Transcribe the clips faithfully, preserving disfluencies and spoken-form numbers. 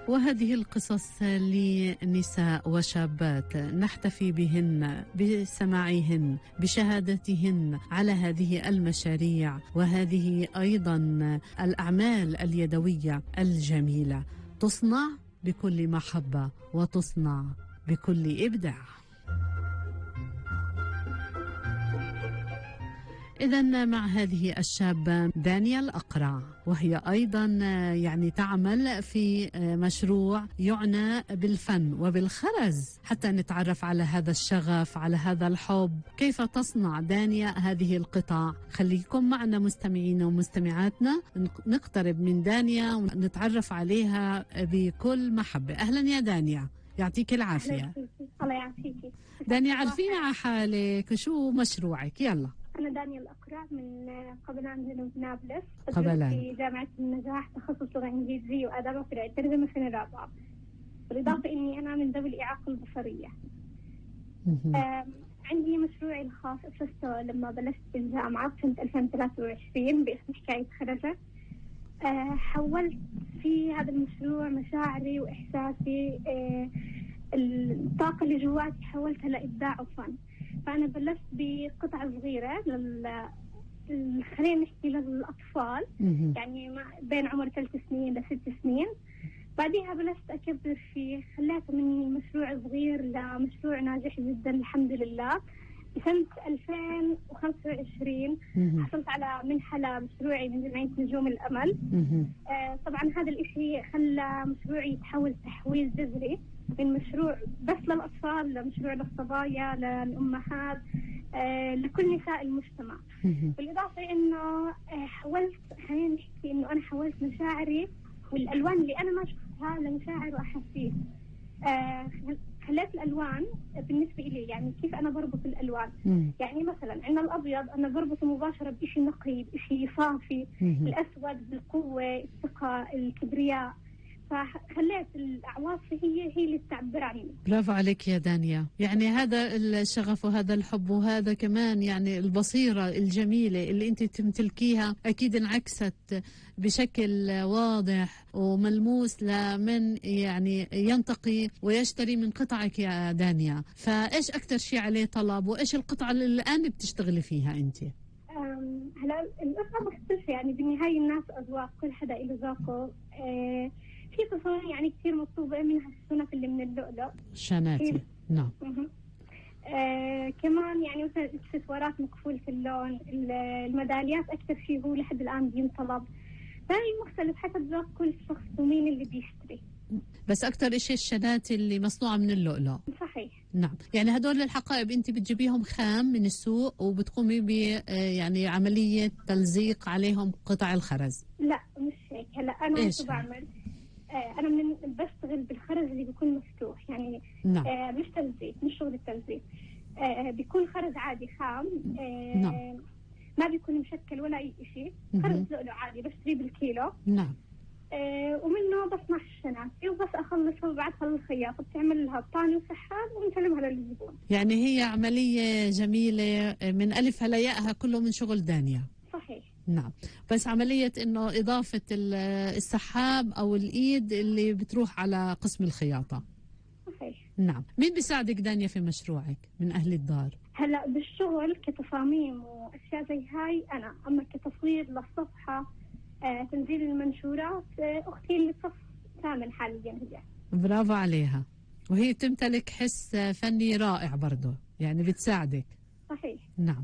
وهذه القصص لنساء وشابات نحتفي بهن بسماعهن بشهادتهن على هذه المشاريع وهذه أيضا الأعمال اليدوية الجميلة تصنع بكل محبة وتصنع بكل إبداع. إذن مع هذه الشابة دانيا الأقرع، وهي أيضا يعني تعمل في مشروع يعنى بالفن وبالخرز، حتى نتعرف على هذا الشغف، على هذا الحب، كيف تصنع دانيا هذه القطع. خليكم معنا مستمعينا ومستمعاتنا، نقترب من دانيا ونتعرف عليها بكل محبة. أهلا يا دانيا، يعطيك العافية. الله يعافيكي دانيا، عرفينا على حالك، شو مشروعك؟ يلا. أنا دانيا الأقرع من قبلان جنوب نابلس، قبلان في جامعة النجاح، تخصص لغة إنجليزية وآداب وفرع الترجمة سنة رابعة. بالإضافة إني أنا من ذوي الإعاقة البصرية. عندي مشروعي الخاص أسسته لما بلشت بالجامعة سنة ألفين وثلاثة وعشرين باسم حكاية خرجة. أه حولت في هذا المشروع مشاعري وإحساسي، أه الطاقة اللي جواتي حولتها لإبداع وفن. فأنا بلشت بقطعة صغيرة لل خلينا نحكي للأطفال، يعني بين عمر ثلاث سنين لست سنين. بعدها بلشت أكبر فيه، خليته من مشروع صغير لمشروع ناجح جدا الحمد لله. بسنة ألفين وخمسة وعشرين حصلت على منحة لمشروعي من جمعية نجوم الأمل. آه طبعا هذا الإشي خلى مشروعي يتحول تحويل جذري من مشروع بس للأطفال لمشروع للصبايا للأمهات، آه لكل نساء المجتمع. بالإضافة إنه آه حولت، خلينا نحكي إنه أنا حولت مشاعري والألوان اللي أنا ما شفتها لمشاعر وأحاسيس. آه خليت الألوان بالنسبة إلي، يعني كيف أنا بربط الألوان. مم. يعني مثلا عندنا الأبيض أنا بربطه مباشرة بإشي نقي، بإشي صافي. مم. الأسود بالقوة، الثقة، الكبرياء. فخليت الأعواصف هي هي اللي تعبر عني. برافو عليك يا دانيا، يعني هذا الشغف وهذا الحب وهذا كمان يعني البصيرة الجميلة اللي انت تمتلكيها أكيد انعكست بشكل واضح وملموس لمن يعني ينتقي ويشتري من قطعك يا دانيا. فإيش أكتر شيء عليه طلب وإيش القطعة اللي الآن بتشتغلي فيها انت؟ هلا القطعة مختلفة، يعني بالنهاية الناس أذواق، كل حدا له ذوقه. أه في تصاميم يعني كثير مطلوبة، منها السنف اللي من اللؤلؤ، شاناتي. نعم. آه كمان يعني مثلا الاكسسوارات مكفولة اللون، الميداليات أكثر شيء هو لحد الآن بينطلب. فهي مختلف حسب ذوق كل شخص ومين اللي بيشتري. بس أكثر إشي الشناتي اللي مصنوعة من اللؤلؤ. صحيح. نعم، يعني هدول الحقائب أنت بتجيبيهم خام من السوق وبتقومي ب يعني عملية تلزيق عليهم قطع الخرز؟ لا مش هيك. هلا أنا شو بعمل؟ آه أنا من بشتغل بالخرز اللي بيكون مفتوح، يعني نعم. آه مش تلزيق، مش شغل التلزيق. آه بيكون خرز عادي خام. آه نعم. ما بيكون مشكل ولا أي شيء، خرز لؤلؤ عادي بشتريه بالكيلو. نعم. آه ومنه بصنع الشناتي وبس أخلصها وبعدها للخياطة بتعمل لها بطانة وسحاب ونسلمها للزبون. يعني هي عملية جميلة من ألفها لياءها كله من شغل دانيا. صحيح. نعم، بس عملية إنه إضافة السحاب أو الإيد اللي بتروح على قسم الخياطة. صحيح. نعم. مين بيساعدك دانيا في مشروعك من أهل الدار؟ هلا بالشغل كتصاميم وأشياء زي هاي أنا، أما كتصوير للصفحة، آه، تنزيل المنشورات، آه، أختي اللي صف ثامن حاليا هي. برافو عليها، وهي تمتلك حس فني رائع برضه، يعني بتساعدك. صحيح. نعم.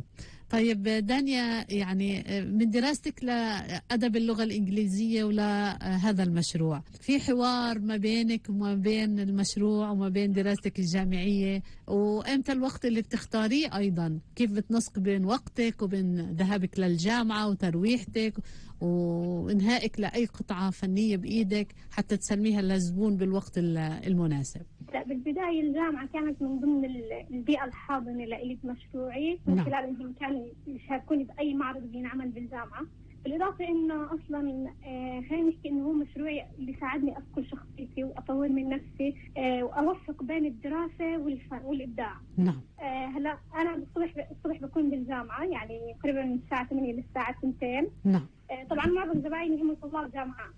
طيب دانيا، يعني من دراستك لأدب اللغة الإنجليزية ولهذا المشروع، في حوار ما بينك وما بين المشروع وما بين دراستك الجامعية، وإمتى الوقت اللي بتختاريه أيضا؟ كيف بتنسق بين وقتك وبين ذهابك للجامعة وترويحتك وإنهائك لأي قطعة فنية بإيدك حتى تسلميها للزبون بالوقت المناسب؟ لا، بالبداية الجامعة كانت من ضمن البيئة الحاضنة لإلي بمشروعي، من نعم. خلال إنهم كانوا يشاركوني بأي معرض بينعمل بالجامعة. بالإضافة إنه أصلا آه خلينا نحكي إنه هو مشروعي اللي ساعدني أذكر شخصيتي وأطور من نفسي، آه وأوفق بين الدراسة والفن والإبداع. نعم. آه هلا أنا الصبح الصبح بكون بالجامعة، يعني تقريبا من الساعة ثمانية للساعة اثنين. نعم. آه طبعا معظم زبايني هم طلاب جامعات،